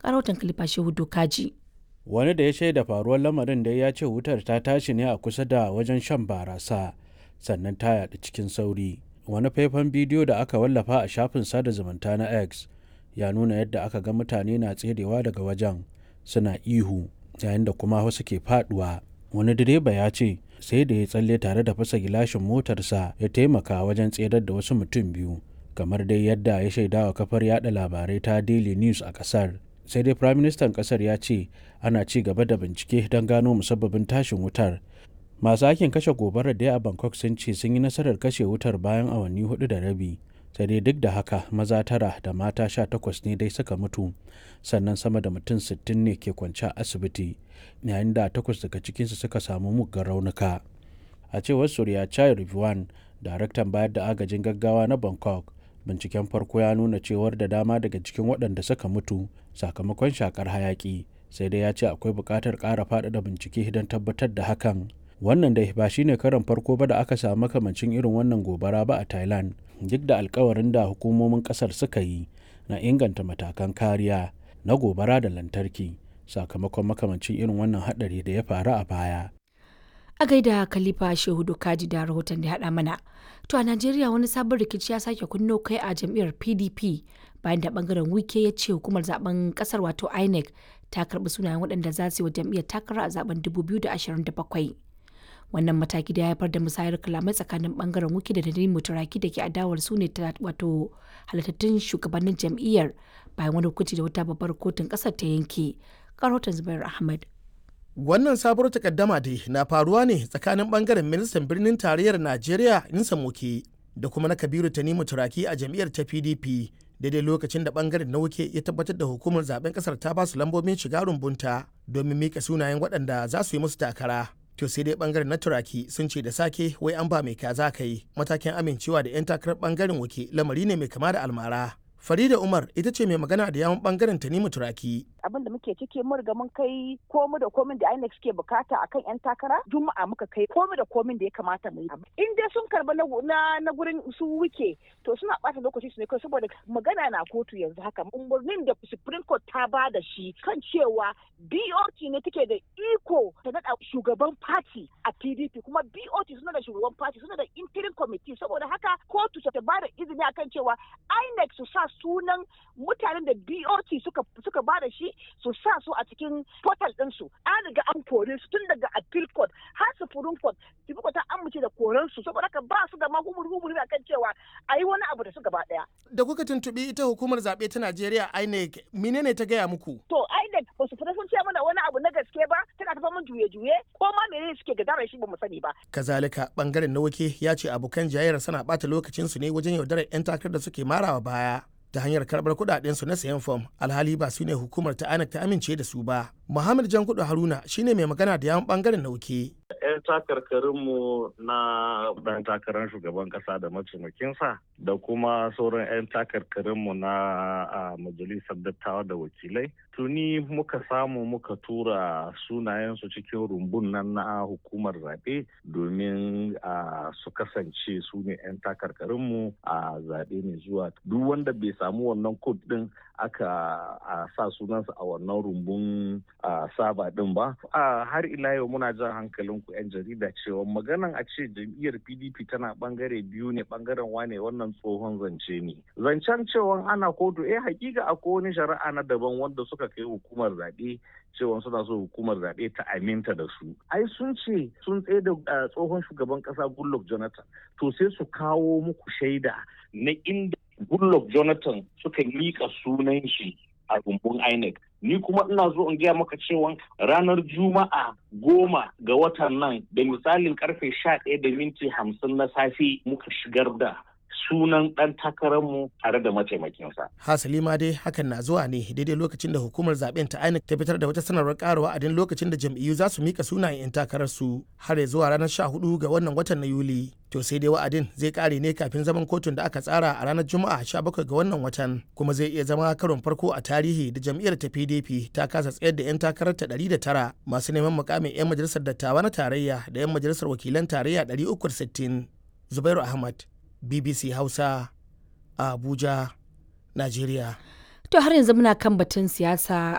Rahoton Khalifa Shehu Dokaji. Wani da ya shaida faruwar lamarin dai ya ce wutar ta tashi ne a kusa da wajen shan barasa, sannan ta yaɗu cikin sauri. Wani faifan bidiyo da aka wallafa a shafin sada zumunta na X ya nuna yadda aka ga mutane na tserewa daga wajen suna ihu yayin da kuma wasu ke faduwa. Wani direba ya ce sai da ya tsalle tare da fasa gilashin motarsa ya taimaka wajen tserar da wasu mutum biyu, kamar dai yadda ya shaidawa kafar yada labarai ta Daily News a kasar. Sai dai firaministan kasar ya ce ana ci gaba da bincike don gano musabbabin tashin wutar. Masu aikin kashe gobarar dai a Bangkok sun ce sun yi nasarar kashe wutar bayan awanni 4.30. Sai dai duk da haka maza tara da mata 18 ne dai suka mutu, sannan sama da mutum 60 ne ke kwance a asibiti, yayin da takwas daga cikinsu suka samu muggan raunuka. A cewar Surya Chai Rizwan, daraktan bayar da agajin gaggawa na Bangkok, binciken farko ya nuna cewar da dama daga cikin waɗanda suka mutu sakamakon shakar hayaki, sai dai ya ce akwai buƙatar ƙara faɗaɗa bincike don tabbatar da hakan. Wannan dai ba shine karon farko ba da aka samu makamancin irin wannan gobara ba a Thailand, duk da alkawarin da hukumomin kasar suka yi na inganta matakan kariya na gobara da lantarki sakamakon makamancin irin wannan hadari da ya faru a baya. A gaida Khalifa Shehu Dokaji da rahoton da haɗa mana. To a Najeriya wani sabon rikici ya sake kunno kai a jam'iyyar PDP bayan da bangaren Wike ya ce hukumar zaben kasar wato INEC ta karɓi sunayen waɗanda za su yi wa jam'iyyar takara a zaben 2027. Wannan mataki da ya haifar da musayar kalamai tsakanin bangaren Wike da Tanimu Turaki da ke adawar su ne wato halittattun shugabannin jam'iyyar bayan wani hukunci da wata babbar kotun kasar ta yanke. Rahoton Zubair Ahmad. Wannan sabuwar takaddama dai na faruwa ne tsakanin bangaren ministan birnin tarayyar Najeriya Insa Moke da kuma na Kabiru Tanimu Turaki a jam'iyyar ta PDP, daidai lokacin da bangaren na Wuke ya tabbatar da hukumar zaben kasar ta ba su lambobin shiga rumbunta domin mika sunayen waɗanda za su yi musu takara. To sai dai bangaren na Turaki sun ce da sake wai an ba mai kaza kai matakin amincewa da 'yan takarar bangaren Wuke lamari ne mai kama da almara. Farida Umar ita ce mai magana da yawun bangaren Tanimu Turaki. Abin da muke ciki, mun riga mun kai komu da komin da INEC suke bukata akan yan takara. Juma'a muka kai komu da komin da ya kamata mu yi. In dai sun karba na na gurin su Wuke, to suna bata lokaci su ne kai, saboda magana na kotu yanzu haka. Umarnin da Supreme Court ta ba da shi kan cewa BOT ne take da iko ta nada shugaban party a PDP, kuma BOT suna da shugaban party, suna da interim committee. Saboda haka kotu ta ba da izini akan cewa INEC su sa sunan mutanen da BOT suka ba da shi, su sa su a cikin portal ɗinsu. An riga an kore su tun daga appeal court har Supreme Court. Supreme Court ta amince da koren su, saboda haka ba su da ma humur akan cewa a yi wani abu da su gaba ɗaya. Da kuka tuntuɓi ita hukumar zaɓe ta Najeriya INEC, menene ta gaya muku? To INEC ba su fita sun ce mana wani abu na gaske ba, tana tafa mun juye-juye ko ma menene suke gadara shi ba mu sani ba. Kazalika bangaren na Wake ya ce abokan jayayyar suna ɓata lokacinsu ne wajen yaudarar 'yan takarar da suke marawa baya ta hanyar karbar kudaden su na sayan fom, alhali ba su ne hukumar ta INEC ta amince da su ba. Muhammad Jankudu Haruna shine mai magana da yawun bangaren Nauke. 'Yan takarkarinmu na ɗan takarar shugaban ƙasa da mataimakinsa da kuma sauran 'yan takarkarinmu na majalisar dattawa da wakilai, tuni muka samu muka tura sunayensu cikin rumbun nan na hukumar zaɓe domin su kasance su ne 'yan takarkarinmu a zaɓe mai zuwa. Duk wanda bai samu wannan kod ɗin aka sa sunansa a wannan rumbun saba ɗin ba. Har ila yau muna jan hankalin ku 'yan jarida cewa maganan a ce jam'iyyar PDP tana bangare biyu ne, bangaren wane, wannan tsohon zance ne. Zancen cewa ana kotu, eh, hakika akwai wani shari'a na daban wanda suka kai hukumar zaɓe cewa suna so hukumar zaɓe ta aminta da su. Ai sun ce sun tsaye da tsohon shugaban ƙasa Goodluck Jonathan. To sai su kawo muku shaida na inda Goodluck Jonathan suka miƙa sunan shi a rumbun INEC. Ni kuma ina zo in gaya maka cewa ranar Juma'a 10 ga watan nan da misalin karfe 11:50 na safe muka shigar da sunan ɗan takararmu tare da mataimakinsa. Hasali ma dai hakan na zuwa ne daidai lokacin da hukumar zaben ta INEC ta fitar da wata sanarwar ƙara wa'adin lokacin da jam'iyyu za su mika sunayen 'yan takararsu har zuwa ranar 14 ga wannan watan na Yuli. To sai dai wa'adin zai kare ne kafin zaman kotun da aka tsara a ranar Juma'a 17 ga wannan watan, kuma zai iya zama karon farko a tarihi da jam'iyyar ta PDP ta kasa tsayar da 'yan takararta 109 masu neman mukamin 'yan majalisar dattawa na tarayya da 'yan majalisar wakilan tarayya 360. Zubairu Ahmad, BBC Hausa, Abuja, Najeriya. To har yanzu muna kan batun siyasa.